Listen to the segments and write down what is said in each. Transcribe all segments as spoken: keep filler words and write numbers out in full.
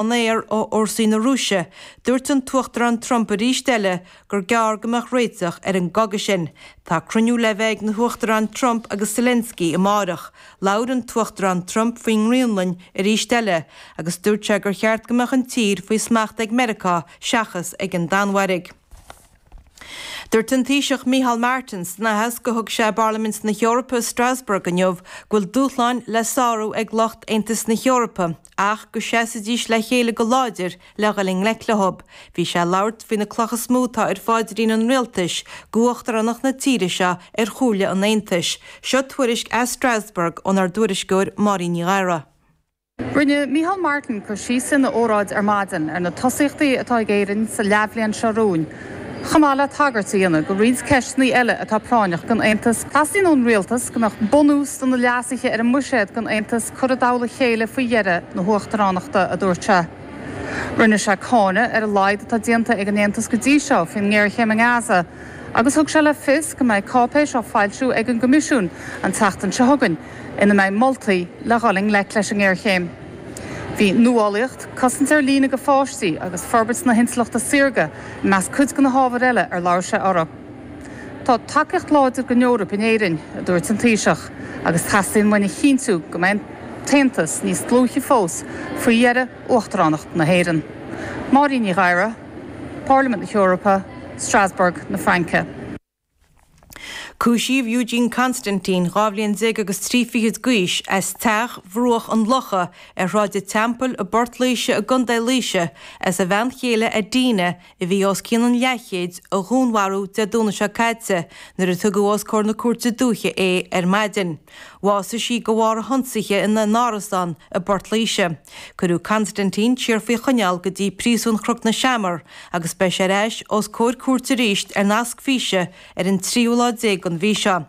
an aer ó fhórsaí na Rúise, dúirt an tUachtarán Trump arís eile gur gearr go mbeadh réiteach ar an gcogadh sin. Tá cruinniú le bheith ag na hUachtaráin Trump agus Zelensky amárach. Labhair an tUachtarán Trump faoin nGraonlainn arís eile agus dúirt sé gur cheart go mbeadh an tír faoi smacht ag Meiriceá seachas ag an Danmhairg. Dúirt an Taoiseach Micheál Martin san aitheasc a thug sé i bParlaimint na hEorpa i Strasbourg inniu go bhfuil dúshláin le sárú ag lucht Aontas na hEorpa ach go seasfaidís le chéile go láidir le dhul i ngleic leo. Bhí sé ag labhairt faoi na clocha is mó atá ar pháidrín an rialtais d'uachtaránacht na tíre seo ar Chomhairle an Aontais. Seo tuairisc as Strasbourg ónár dtuairisceoir Máirín Ní Ghadhra. Rinne Micheál Martin cur síos ina óráid ar maidin ar na tosaíochtaí atá ag Éirinn sa leathbhliain seo romhainn. Chomh maith le tagairt a dhéanamh do roinnt ceisteanna eile atá práinneach don Aontas. Teastaíonn ón rialtas go mbeadh bunús do na leasuithe ar an mbuiséad don Aontas curtha i dtoll a chéile faoi dheireadh na huachtaránachta, a dúirt sé. Rinne sé cáineadh ar a laghad atá déanta ag an Aontas go dtí seo faoin ngéarchéim i nGaza agus thug sé le fios go mbeidh cáipéis á foilsiú ag an gCoimisiún an tseachtain seo chugainn ina mbeidh moltaí le dhul i ngleic leis an ngéarchéim. Bhí nuálaíocht, cosaint ar líne do pháistí agus forbairt na hintleachta saorga i measc cuid de na hábhair eile ar labhair sé orthu. Tá tacaíocht láidir don Eoraip in Éirinn, a dúirt an Taoiseach, agus teastaíonn uainn a chinntiú go mbeidh an tAontas níos dlúithe fós faoi dheireadh uachtaránacht na hÉireann. Máirín Ní Ghadhra, Parlaimint na hEorpa, Strasbourg na Fraince. Cúisíodh Eugene Constantine, dhá bhliain déag agus trí fichid d'aois, as teach Bhruach an Locha ar Shráid an Teampaill i bPort Laoise i gContae Laoise, as a bhean chéile Adina, a bhí os cionn an leathchéid, a dhúnmharú Dé Domhnaigh seo caite nuair a tugadh os comhair na Cúirte Dúiche é ar maidin. Bhásaigh sí de bharr a hionsaithe ina n-árasán i bPort Laoise. Cuireadh Constantine siar faoi choinneáil go dtí Príosún Chnoc na Seamar agus beidh sé ar ais os comhair cúirte arís ar nasc físe ar an tríú lá déag den mhí seo.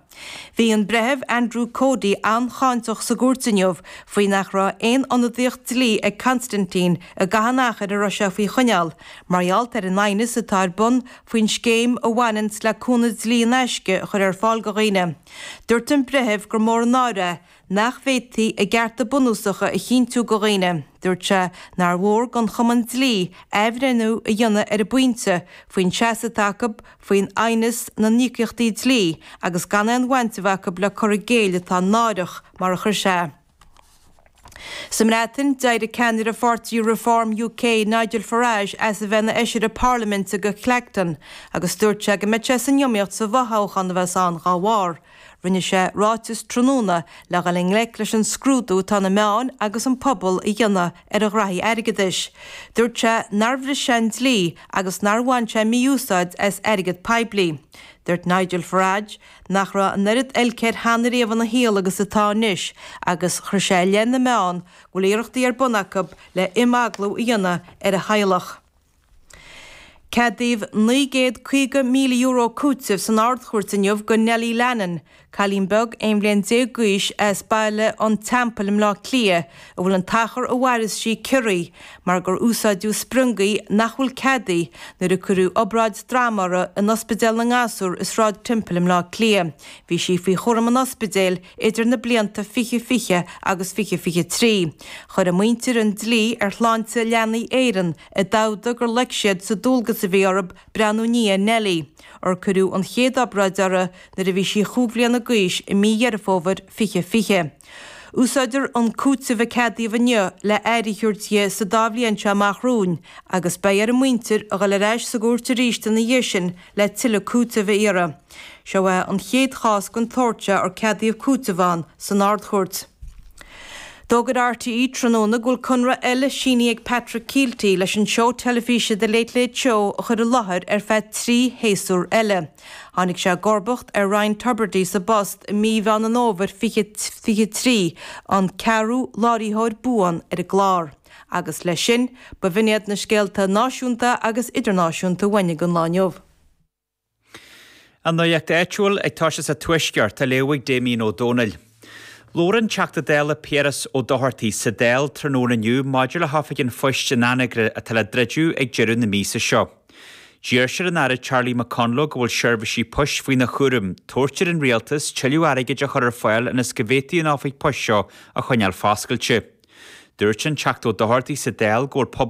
Bhí an Breitheamh Andrew Cody an-cháinteach sa gcúirt inniu faoi nach raibh aon ionadaíocht dlí ag Constantine i gcaitheamh an achair a raibh sé faoi choinneáil, mar gheall ar an aighneas atá ar bun faoin scéim a bhaineanns le cúnamh dlí in aisce a chur ar fáil do dhaoine. Dúirt an Breitheamh gur mór an náire é nach bhféadfaí a gcearta bunúsacha a chinntiú do dhaoine. Dúirt sé nár mhór don Chumann Dlí athbhreithniú a dhéanamh ar an bpointe faoin seasamh atá acu faoin aighneas na n-íocaíochtaí dlí agus gan aon bhaint a bheith acu le cur i gcéill atá náireach, mar a chuir sé. Sa mBreatain, d'éirigh ceannaire pháirtí Reform UK, Nigel Farage, as a bheith ina fheisire parlaiminte do Clacton agus dúirt sé go mbeidh sé san iomaíocht sa bhfothoghchán a bheas ann dá bharr. Rinne sé ráiteas tráthnóna le dhul i ngleic leis an scrúdú atá na meáin agus an pobal a dhéanamh ar a ghraithí airgeadais. Dúirt sé nár bhris sé an dlí agus nár bhain sé mí-úsáid as airgead poiblí. Dúirt Nigel Farage nach raibh an oiread oilc air cheana riamh ina shaol agus atá anois agus chuir sé i leith na meán go bhfuil iarrachtaí ar bun acu le imeaglú a dhéanamh ar a theaghlach. Ceadaíodh naoi gcéad caoga míle euro cúitimh san Ard-Chúirt inniu do Nellie Lannon, cailín beag aon bhliain déag d'aois as Baile an Teampaill i mBleá Cliath, a bhfuil an t-achar a mhaireas sí ciorraithe mar gur úsáideadh spriongaí nach bhfuil ceadaithe nuair a cuireadh obráid droma uirthi in Ospidéal na nGasúr i Sráid Temple i mBleá Cliath. Bhí sí faoi chúram an ospidéil idir na blianta fiche fiche agus fiche fiche trí. Chuir a muintir an dlí ar Shláinte Leanaí Éireann i dtabhda gur loic siad sa dualgas a bhí orthu breathnú i ndiaidh Nellie, ar cuireadh an chéad obráid uirthi nuair a bhí sí chúig bhliana d'aois i mí Dheireadh Fómhair fiche fiche. Úsáidtear an cúiteamh a ceadaíodh inniu le aire a thabhairt di sa dá bhliain seo amach romhainn agus beidh ar a muintir a dhul ar ais sa gcúirt arís ina dhiaidh sin le tuilleadh cúitimh a iarraidh. Seo é an chéad chás den tsórt seo ar ceadaíodh cúiteamh ann san Ard-Chúirt. D'fhógair RTÉ tráthnóna go bhfuil conradh eile sínithe ag Patrick Kielty leis an seó teilifíse The Late Late Show a chur i láthair ar feadh trí shéasúr eile. Tháinig sé i gcomharbacht ar Ryan Tubridy sa bpost i mí Mheán an Fhómhair fiche fiche trí, an ceathrú láithreoir buan ar an gclár. Agus leis sin, ba bh'in iad na scéalta náisiúnta agus idirnáisiúnta uainn don lá inniu. An nuacht áitiúil ag toiseacht sa Tuaisceart á léamh ag Damien Ó Dónaill. Labhair an Teachta Dála Piaras Ó Dochartaigh sa Dáil tráthnóna inniu maidir le hOifig an Phoist in Anagaire atá le druideadh ag deireadh na míosa seo. D'iarr sé ar an Aire Charlie McConalogue go bhfuil seirbhísí poist faoina chúram, tabhairt ar an Rialtas tuilleadh airgid a chur ar fáil ionas go bhféadfaí an oifig poist seo a choinneáil foscailte. Dúirt an Teachta Ó Dochartaigh sa Dáil go bhfuil pobal